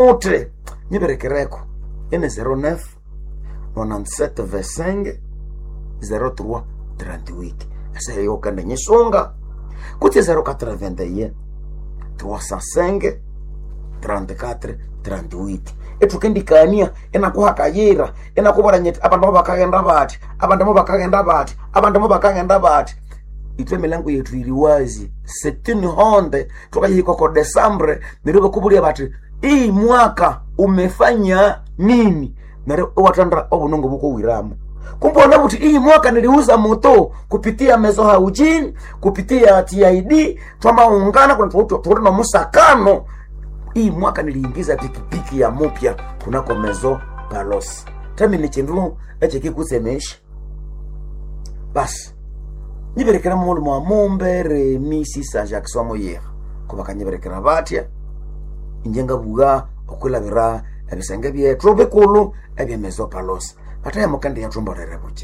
Uthi nyiberekereko ene 09 97 25 03 38 eseyo kende nyisunga kutse 081 305 34 38 ethukendikania enakuhakayira enakubora nyiti abandu mo bakaghenda bathi, abandu mo bakaghenda bathi, abandu mo bakaghenda bathi. Ithwe emilango yethu iri wazi setini honde thukayihika oko Desambre, neryo bakubulya bathi iyi mwaka umefanya nini, neryo iwathandira obunungu bukowiramo. Kumbe wanabuthi iyi mwaka niliuza moto kupitia Mezo Haujini, kupitia TID, twamaungana kuna tuti nomusakano. Iyi mwaka niliingiza pikipiki ya mupya kunako Mezo Palos. Tami ni chindu echikikutsemesha basi nyiberekera mulu mwa Mumbere Misisa Jackson Moyera kubakanyiberekera batya inje ngabuga okwilabira ebisenge byethu bikulu ebyemezo Palos. Bataya mukende yathumbolere buche.